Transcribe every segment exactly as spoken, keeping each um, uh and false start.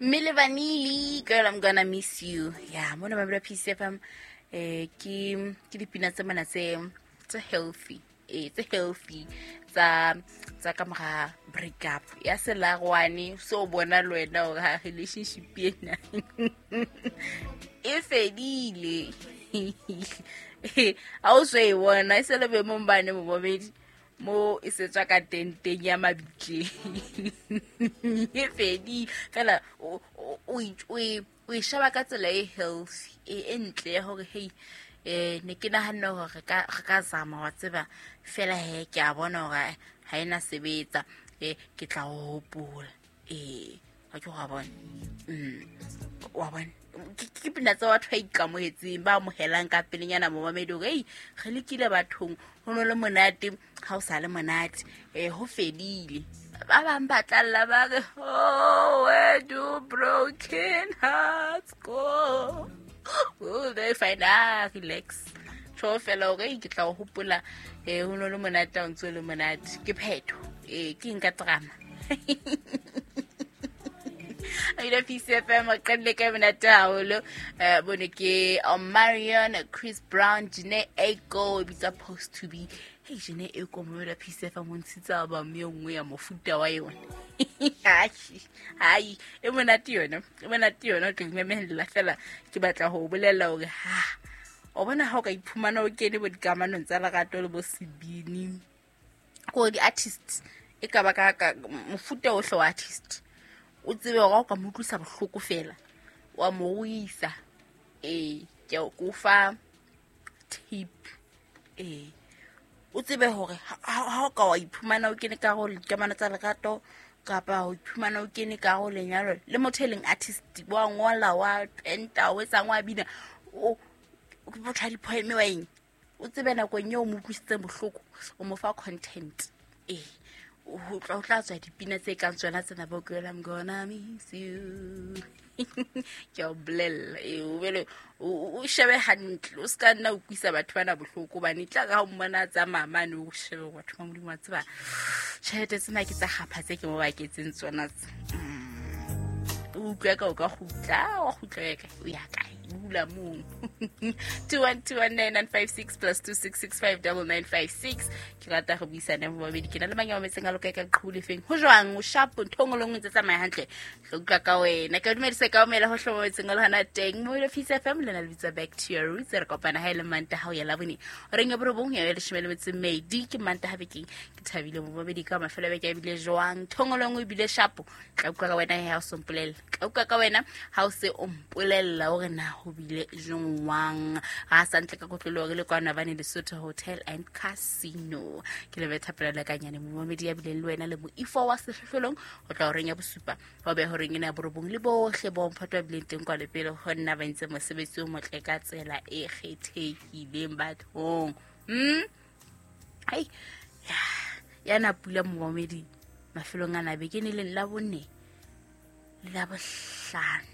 Milli Vanilli, girl, I'm gonna miss you. Yeah, mona ba P C F M eh ke ke dipina tse mana tse tse healthy. Eh tse healthy tsa tsa ka mora break up. Ya selagwane so bona le wena hore ha relationship ena e fedile. A o se e bona e se le be mong bane mo bobedi mo e setswa ka tenteng ya mabitleng. E fedile fela o o o e sheba ka tsela e healthy e ntle ya hore hey eh ne ke nahana hore re ka re ka zama wa tseba fela he ke a bona hore ha ena sebetsa eh ke tla o hopola eh ha ke wa bona mm wa bona ke pina tsa batho ba ikamohetseng ba amohelang ka pelenyana mo mamedi hore ei re lekile bathong ho no le monate ha o sa le monate eh ho fedile ba bang ba tlalla ba re oh where do broken hearts go oh they find ah relax tjho fela hore ke tla o hopola eh ho no le monate ha o ntso le monate ke phetho eh ke nka drama Ida P C F M qelle ka monate haholo eh bone ke Marion Chris Brown Jhené Aiko bitsa post to be hey Jhené Aiko mo la P C F M ntshitsa album e nngwe ya mofuta wa yona hai e monate yona e monate yona ke memella fela ke batla ho bolella hore ha o bona ha o ka iphumana o kene bo dikamanong tsa lerato le bo sebini ko di artists e ka ba ka mofuta ohle wa artist o tsebe hore o ka mo utlwisa bohloko fela wa mo ruisa eh ke o fa tip eh o tsebe hore ha o ka wa iphumana o kene ka go dikamano tsa lerato kapa o iphumana o kene ka go lenyalo le motho e leng artist wa ngola wa penta o etsang wa bina o botha di-poem wa eng o tsebe nakong eo o mo utlwisitseng bohloko o mo fa content eh ho tla tla tswa dipina tse kang tsona tsena bo girl I'm gonna miss you ke o bolella e o bele o shebe hantle o ska nna o kwisa batho bana bohloko bane tla ka o mmona tsa mama ne o shebe batho ba Modimo wa tseba tjhelete tsena ke tsa gapha tse ke mo baketseng tsona tse o utlwa ka o ka kgutla wa kgutla ka o ya kae bula mong two one two one nine nine five six plus two six six five nine nine five six ke rata go buisana mo babedi ke na le mang ya metseng a loka ka qhule feng ho jwang o sharp ntho ngwe le nngwe tse tsamaya hantle re utlwa ka wena ke dumedise ka omela ho hlobo metseng a le hana teng mo le Peace F M le na le bitsa back to your roots re kopana ha ile manta ha o ya labone reng ya borobong ya leshome le metso mmedi ke manta ha bekeng ke thabile mo babedi ka mafelo a beke a bile jwang ntho ngwe le nngwe bile sharp tla utlwa ka wena ha o sompolella tla utlwa ka wena ha o se o mpolella hore na ho bile jwang ha sa ntle ka kotlolo re le kwana bane Lesotho Hotel and Casino ke le betha pela kanyane momedi ya bile le wena le moifo wa sehlohlolong ho tla horeng ya bosupa ho be horeng ena borobong le bohle bo mphato ba bileng teng kwa lepele ho nna ba ntse mosebetsi o motle ka tsela e kgethehileng bathong mm ai ya na pula momedi mafelong ana beke ne leng la bone le la bohlano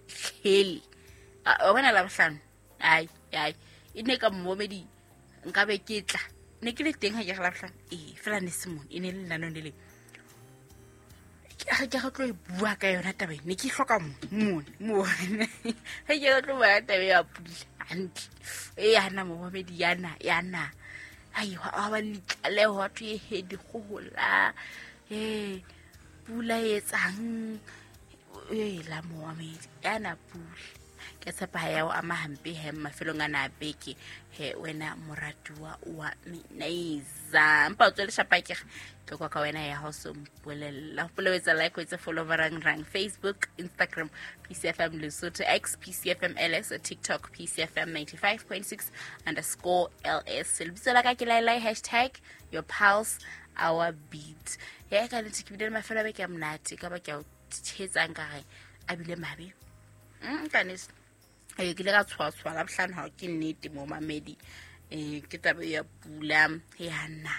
tlhele o bona la bohlano ai ai e ne ka momedi nka be ke tla ne ke le teng ha ke la bohlano eh fela ne se mone e ne le nano le le ke ga tlo e bua ka yona taba ne ke hloka mone mone ha ke tlo bua taba ya pula hantle e yana momedi yana yana ai ha ba litlaleho batho e he dikgohola eh pula e etsang e la momedi yana pula ke tshepa ha ya o ama hampe he mafelong ana beke he wena moratuwa wa Minaiza mpa o tswele shapa ke ke kwa ka wena ya house mpolella polewetsa like wetsa follow barang rang Facebook Instagram P C F M Lesotho X P C F M L S TikTok P C F M ninety-five point six underscore L S lebitso la ka ke laelai hashtag your pulse our beat ya ka le ke bile mafelo a beke a monate ka ba ke o tshetsang ka re a bile mabe mm ka nese e ke le ka tshwa la bohlano ha ke nnete mo mamedi eh ke taba ya pula ya nna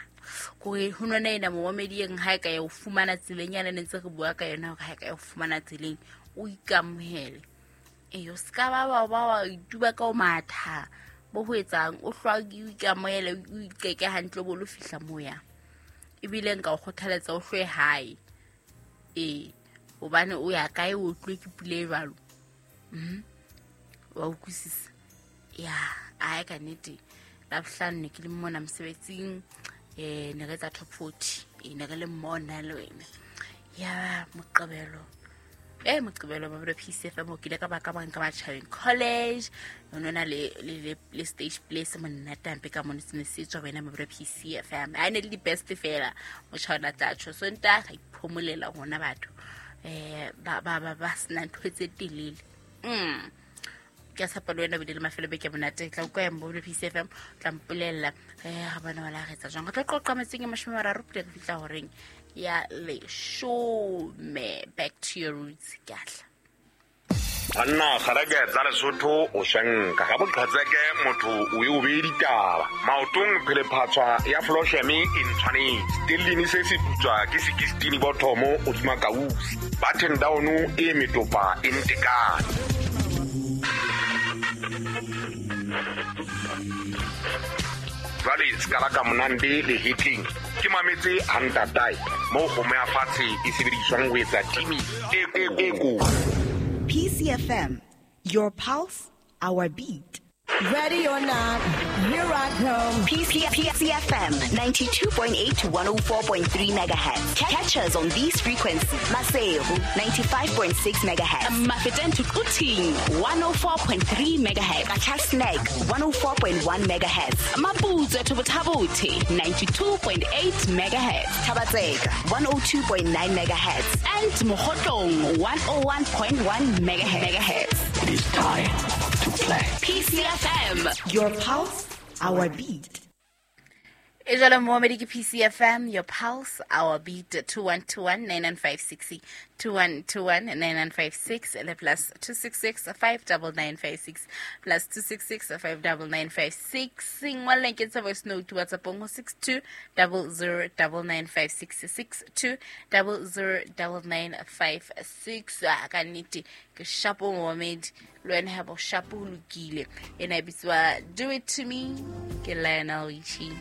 ko ho nona ena mo mamedi eng ha ka ya o fumana tseleng yana ne ntse re bua ka yona hore ha ka ya o fumana tseleng o ikamohele eh o ska ba ba ba ituba ka o matha bo ho etsang o hlwa o ikamohele o ikeke hantle bo lo fihla moya ebile nka o kgothaletsa o hlwe hae eh Hobane o ya kae o tloe ke pula e jwalo. Mm. Wa utlwisisa. Ya, ae ka nnete. Labohlano ne ke le mona mosebetsing, eh ne re etsa top forty. E ne re le mona le wena. Ya Moqebelo. Eh Moqebelo ba P C F M o kile ka ba ka bang ka Matjhabeng College. O nona le le le stage play se monate hampe ka mona se ne se tswa wena ba P C F M. A ne le di best fela motjha tla tjho. So nta ga iphomolela rona batho. Eh ba ba ba ba sena ntho tse telele. Mm. Ke tshepa le wena o bile le mafelo beke monate. Tla utlwa yang bo P C F M tla mpolella eh ga bana wala re etsa jwang. Re tlo qoqa metseng e mashome a mararo pele re fihla horeng ya leshome. Back to your roots, ke atla. Banna kgareke tsa Lesotho o shanka ga boqhatseke motho o e o be ditaba maotong phelephatswa ya flosheme e ntshwanetse tellini se se putswa ke sixteen bothomo o tsuma kausi button down e metopa e ntekane. Jwale ska ka monande le hitling ke mametse hantatai mo go me fatshe e sebediswang ho etsa timi e e ko. P C F M, your pulse, our beat. Ready or not, here I come. P C F M ninety-two point eight to one oh four point three megahertz. Catch us on these frequencies. Maseru ninety-five point six megahertz. Mafeteng to Quthing one oh four point three megahertz. Qacha's one oh four point one megahertz. Maputsoe to Botha-Bothe ninety-two point eight megahertz. Thaba-Tseka one oh two point nine megahertz. And Mokhotlong one oh one point one megahertz. It is time to play. P C F M, your pulse, our beat. E jalo momedi ke P C F M, your pulse, our beat. Two one two one nine nine five six, two one two one nine nine five six, le plus two six six five double nine five six, plus two six six five double nine five six. Ngwaleng ke tsa voice note WhatsApp go six two double zero double nine five six, six two double zero double nine five six. Ka nnete ke shapo momedi le wena ha bo shapo lokile. Ena e bitswa Do It To Me ke Lionel Richie.